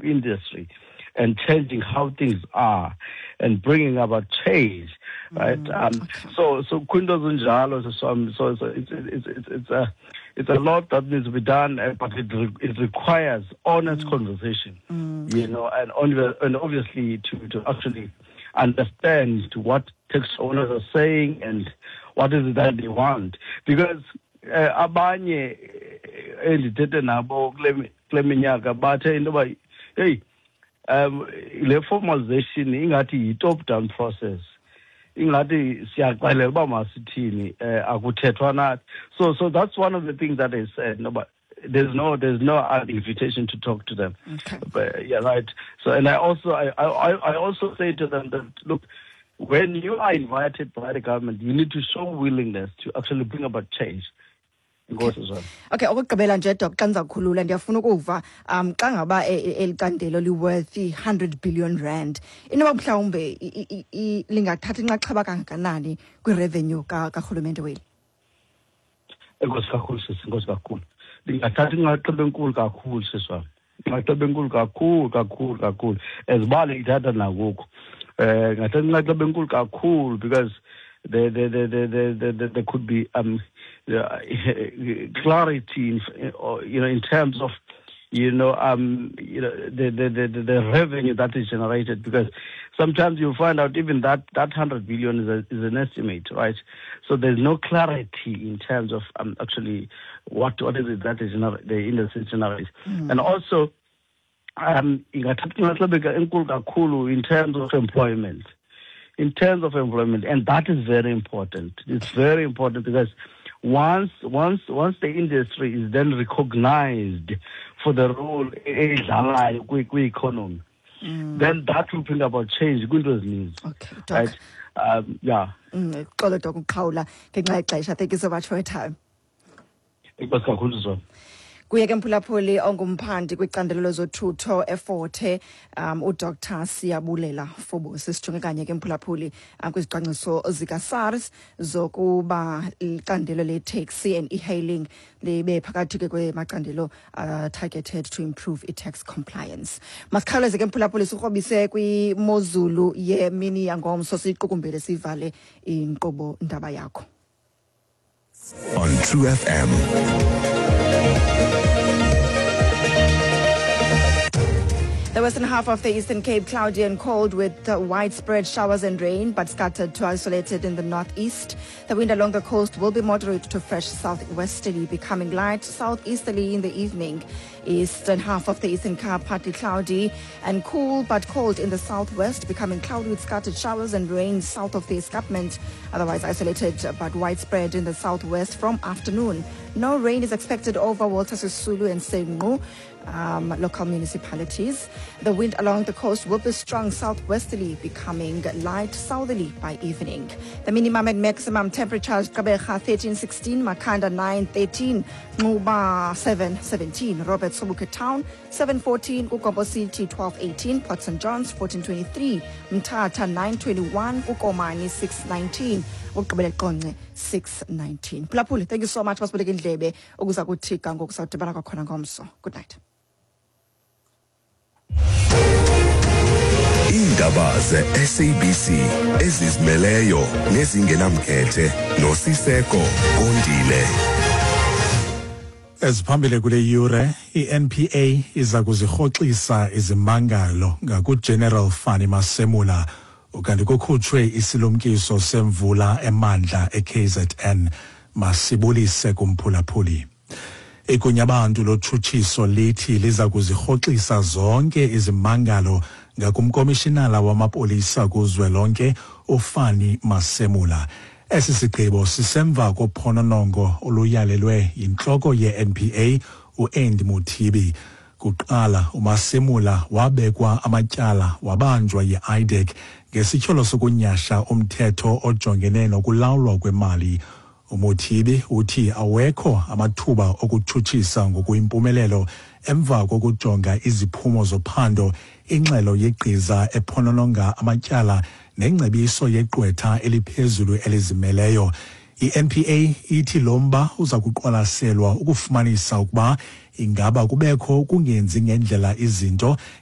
industry and changing how things are and bringing about change, right? So kwinto zinjalo, so it's a lot that needs to be done, but it requires honest conversation, and obviously to actually understand what taxi owners are saying and what is it that they want, because abanye endithethe nabo kule minyaka bathe into yoba, hey, le formalization ingathi yi-top down process, ingathi siyaxelela uba masithini, akuthethwa nathi. So that's one of the things that they said, no, but there's no invitation to talk to them. But, yeah, right. So and I also say to them that, look, when you are invited by the government, you need to show willingness to actually bring about change. Enkosi, Zwana. Okay, okugqibela nje, Doc, xa ndiza kukhulula, ndiyafuna ukuva xa ngaba eli candelo li-worth R100 billion, inoba mhlawumbe lingathatha inxaxheba kangakanani kwi-revenue karhulumente weli? Enkosi kakhulu, sisi, enkosi kakhulu. Ndingathatha inxaxheba enkulu kakhulu, sisi wam, inxaxheba enkulu kakhulu kakhulu kakhulu, ezibale ithatha nangoku. Ngathatha inxaxheba enkulu kakhulu because there could be clarity in terms of the revenue that is generated, because sometimes you find out even that 100 billion is an estimate, right? So there's no clarity in terms of actually what is it that is the industry generates. And also ingathatha inxaxheba enkulu kakhulu in terms of employment, and that is very important. It's very important because once the industry is then recognized for the role eyidlalayo kwi-economy, then that will bring about change kwinto ezininzi. Okay, Doc. Right, yeah. Xolo, Doc, uqhawula ngenxa yexesha. Thank you so much for your time. Enkosi kakhulu, Zona. Kuye ke, mphulaphuli, ongumphandi kwicandelo lezothutho eFort Hare, uDr Siyabulela Fobosi. Sijonge kanye ke, mphulaphuli, kwizicwangciso zikaSARS zokuba icandelo le-taxi and e-hailing libe phakathi ke kwemacandelo targeted to improve i-tax compliance. Masikhawuleze ke, mphulaphuli, sikrobise kwimozulu yemini yangomso, siyiqukumbele, sivale inkqubo ndaba yakho. On True FM. The western half of the Eastern Cape, cloudy and cold with widespread showers and rain, but scattered to isolated in the northeast. The wind along the coast will be moderate to fresh southwesterly, becoming light southeasterly in the evening. Eastern half of the Eastern Cape, partly cloudy and cool, but cold in the southwest, becoming cloudy with scattered showers and rain south of the escarpment. Otherwise isolated but widespread in the southwest from afternoon. No rain is expected over Walter Sisulu and Senqu local municipalities. The wind along the coast will be strong southwesterly, becoming light southerly by evening. The minimum and maximum temperatures: Gqeberha 13-16, Makhanda 9-13, Nxuba 7-17, Robert Sobukwe Town 7-14, KuGompo City 12-18, Port St Johns 14-23, Mthatha 9-21, kuKomani 6-19, ukugqibela eQonce 6-19. Phulaphuli, thank you so much basiboleka indlebe ukuza kuthi ga ngoku. Sawudibana kwakhona ngomso. Good night. Iindaba ze-SABC ezizimeleyo nezingenamkhethe noSiseko Kondile. Eziphambili kule yure: i-NPA iza kuzirhoxisa izimangalo ngakuGeneral Fannie Masemola, ukanti kukhutshwe isilumkiso semvula emandla eKZN. Masibulise kumphulaphuli. Igunyabantu lotshutshiso lithi liza kuzirhoxisa zonke izimangalo ngakumkomishinala wamapolisa kuzwelonke uFannie Masemola. Esi sigqibo sisemva kophononongo oluyalelwe yintloko ye-NPA uAndy Mothibi. Kuqala uMasemola wabekwa amatyala, wabanjwa yi-IDAC ngesityholo sokunyasha umthetho ojongene nokulawulwa kwemali. UMothibi uthi awekho amathuba okutshutshisa ngokuyimpumelelo emva kokujonga iziphumo zophando, ingxelo yegqiza ephonononga amatyala nengcebiso yegqwetha eliphezulu elizimeleyo. I-NPA ithi lo mba uza kuqwalaselwa ukufumanisa ukuba ingaba kubekho ukungenzi ngendlela izinto.